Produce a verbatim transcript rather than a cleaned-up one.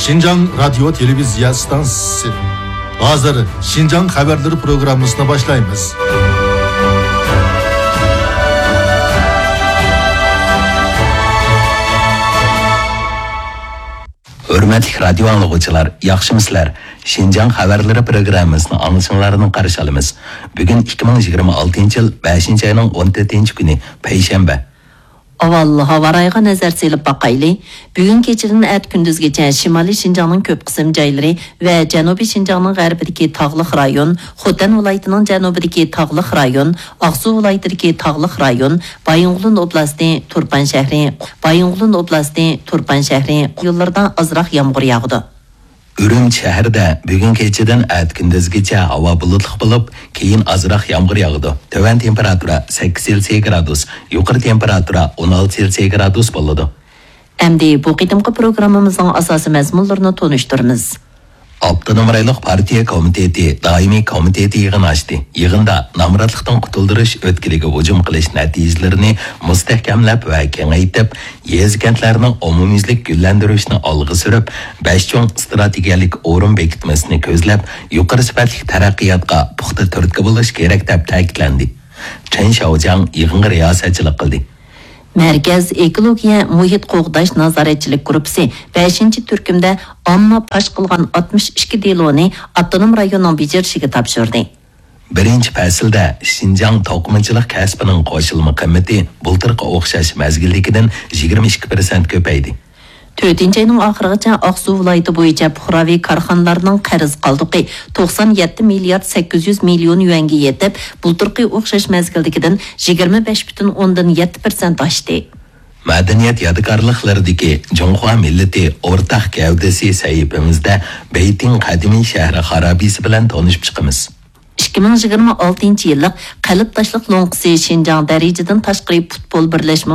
شىنجاڭ رادىيو تېلېۋىزىيە ئىستانسىسى. ھازىر شىنجاڭ خەۋەرلىرى پروگراممىسىنى باشلايمىز. ھۆرمەتلىك رادىيو ئاڭلىغۇچىلار، ياخشىمۇسىلەر؟ شىنجاڭ خەۋەرلىرى پروگراممىسىنى ئاڭلىشىڭلارنى قارشى ئالىمىز. بۈگۈن ئىككى مىڭ يىگىرمە ئالتىنچى يىل بەشىنچى ئاينىڭ ئون تۆتىنچى كۈنى، پەيشەنبە. ئاۋۋال ھاۋا رايىغا نەزەر سېلىپ باقايلى. بۈگۈن كېچىدىن ئەتە كۈندۈزگىچە شىمالىي شىنجاڭنىڭ كۆپ قىسىم جايلىرى ۋە جەنۇبىي شىنجاڭنىڭ غەربىدىكى تاغلىق رايون، خوتەن ۋىلايىتىنىڭ جەنۇبىدىكى تاغلىق رايون، ئاقسۇ ۋىلايىتىدىكى تاغلىق رايون، بايىنغولىن ئوبلاستى، تۇرپان شەھىرى، بايىنغولىن ئوبلاستى، تۇرپان شەھىرى رايونلىرىدا ئازراق يامغۇر ياغىدۇ. ئۈرۈمچى شەھىرىدە بۈگۈن كېچىدىن ئەتە كۈندۈزگىچە ھاۋا بۇلۇتلۇق بولۇپ، كېيىن ئازراق يامغۇر ياغىدۇ. تۆۋەن تېمپېراتۇرا سەككىز سېلسىيە گرادۇس، يۇقىرى تېمپېراتۇرا ئون ئالتە سېلسىيە گرادۇس بولىدۇ. ئەمدى بۇ قېتىمقى پروگراممىمىزنىڭ ئاساسىي مەزمۇنلىرىنى تونۇشتۇرىمىز. ئاپتونوم رايونلۇق پارتىيە كومىتېتى دائىمىي كومىتېتى يىغىنى ئاچتى. يىغىندا نامراتلىقتىن قۇتۇلدۇرۇش ئۆتكىلىگە ھۇجۇم قىلىش نەتىجىلىرىنى مۇستەھكەملەپ ۋە كېڭەيتىپ، يېزا-كەنتلەرنىڭ ئومۇميۈزلۈك گۈللەندۈرۈشىنى ئالغا سۈرۈپ، بەش چوڭ ئىستراتېگىيەلىك ئورۇن بېكىتمىسىنى كۆزلەپ، يۇقىرى سۈپەتلىك تەرەققىياتقا پۇختا تۈرتكە بولۇش كېرەك، دەپ تەكىتلەندى. چېن شياۋجياڭ يىغىنغا رىياسەتچىلىك قىلدى. مەركەز ئېكولوگىيە مۇھىت قوغداش نازارەتچىلىك گۇرۇپپىسى بەشىنچى تۈركۈمدە ئامما پاش قىلغان ئاتمىش ئىككى دېلونى ئاپتونوم رايوننىڭ بېجىرىشىگە تاپشۇردى. بىرىنچى پەسىلدە شىنجاڭ توقۇمىچىلىق كەسپىنىڭ قوشۇلما قىممىتى بۇلتۇرقى ئوخشاش مەزگىلدىكىدىن يىگىرمە ئىككى پىرسەنت كۆپەيدى. تۆتىنچى ئاينىڭ ئاخىرىغىچە ئاقسۇ ۋىلايىتى بويىچە پۇقراۋى كارخانىلارنىڭ قەرز قالدۇقى توقسان يەتتە مىليارد سەككىز يۈز مىليون يۈەنگە يېتىپ، بۇلتۇرقى ئوخشاش مەزگىلدىكىدىن يىگىرمە بەش پۈتۈن ئوندىن يەتتە پىرسەنت ئاشتى. مەدەنىيەت يادىكارلىقلىرىدىكى جۇڭخۇا مىللىتى ئورتاق گەۋدىسى سەھىپىمىزدە بېيتىڭ قەدىمىي شەھىرى خارابىسى بىلەن تونۇشۇپ چىقىمىز. ئىككى مىڭ يىگىرمە ئالتىنچى يىللىق قەلب تاشلىق لوڭقىسى شىنجاڭ دەرىجىدىن تاشقىرى پۇتبول بىرلەشمە